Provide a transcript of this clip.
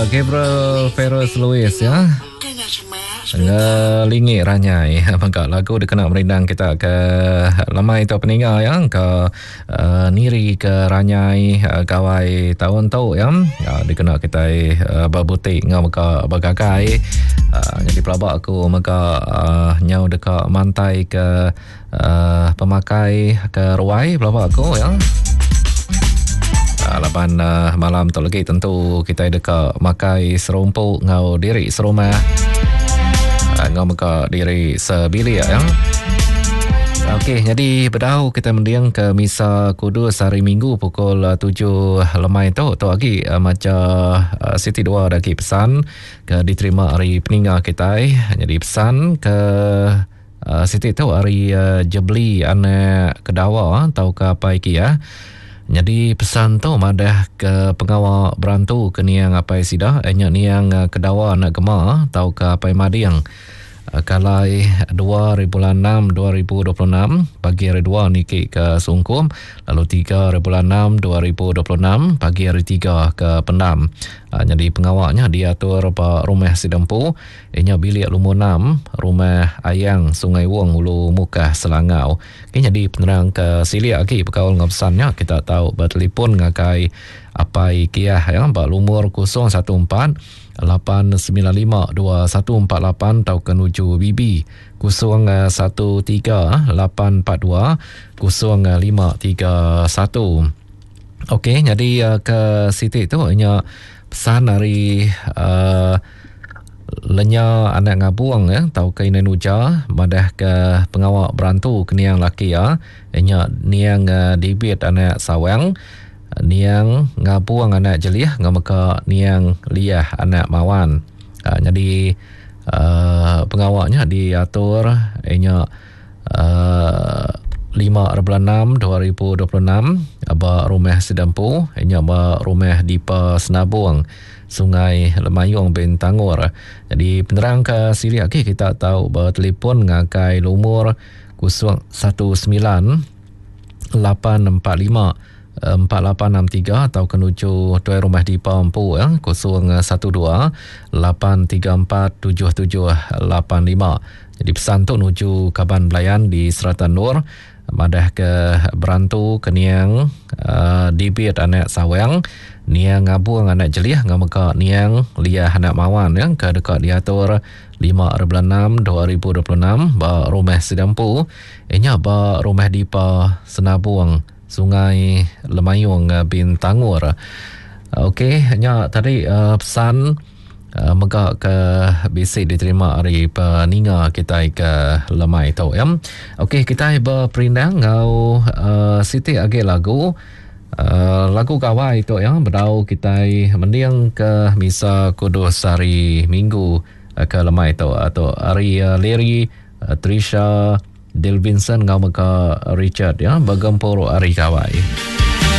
Gabriel Ferris Lewis ya. Ngelingi ranyai mega lagu dikena merindang kita ke lemai tu peninga ya ke uh, niri ke ranyai uh, gawai taun tu ya uh, dikena kita uh, berbutik ngau mega begagai uh, jadi pelaba aku mega uh, nyau deka mantai ke uh, pemakai ke ruai pelaba aku ya. Uh, laban uh, malam tu lagi tentu kita deka makai serumpu ngau diri serumah. Uh, ngau mega diri sebilik ya. Okey, jadi bedau kita mending ke Misa Kudus hari Minggu pukul 7 lemai tu. Tu lagi uh, maca uh, siti dua lagi pesan ke diterima hari peninga kita. Jadi pesan ke Siti tu ari Jebli anak Kedawa tauka apai Kiah. Nyadi pesan tu madah ke pengawa berantu ke niang apai sida nya niang Kedawa anak Gema tauka apai Mading kalai dua ari bulan enam 2026 pagi hari dua niki ke Sungkum lalu tiga ari bulan enam 2026 pagi hari tiga ke Pendam. Nyadi pengawa nya diatur ba rumah sida empu. Iya nya bilik lumur enam, Rumah Ayang, Sungai Wong, Ulu Mukah, Selangau. Ke nyadi penerang ke silik agi bekaul enggau pesan nya kita tau betelefon ngagai Apai Kiah ya ba lumur 014 895 2148 tauka nuju BB 013 842 0531. Okey, nyadi ke siti tu nya pesan ari uh, Lenya anak ngabung ya tauka indai nuja madah ke pengawa berantu ke niang laki iya nya niang Dibit anak Sawang niang ngabung anak Jelih enggau mega niang Liah anak Mawan. Uh, nyadi uh, pengawa nya diatur nya uh, 5 bulan 6 2026 ba rumah sida empu nya ba rumah Dipa Senabung Sungai Lemayung Bintangor. Jadi penerang ke silik agi kita tau bertelefon ngagai lumur 019 845 4863 atau ke nuju tuai rumah Dipa empu ya 012 834 7785. Jadi pesan tu nuju kaban belayan di serata Nur Madah ke berantu ke niang uh, Dibit anak Sawang, niang Ngabung anak Jelih enggau mega niang Liah anak Mawan ya, ke deka diatur 5 bulan 6 2026 ba Rumah Sidampu inya ba Rumah Dipa Senabung Sungai Lemayung Bintangor. Okey, nya tadi uh, pesan mega ke bisi diterima ari peninga kitai ke lemai tu ya. Okey kitai beperindang enggau uh, siti agi lagu uh, lagu gawai tu ya bedau kitai mending ke misa kudus hari Minggu uh, ke lemai tu atau hari uh, Larry uh, Trisha Dilvinson enggau mega Richard ya begempuru hari gawai.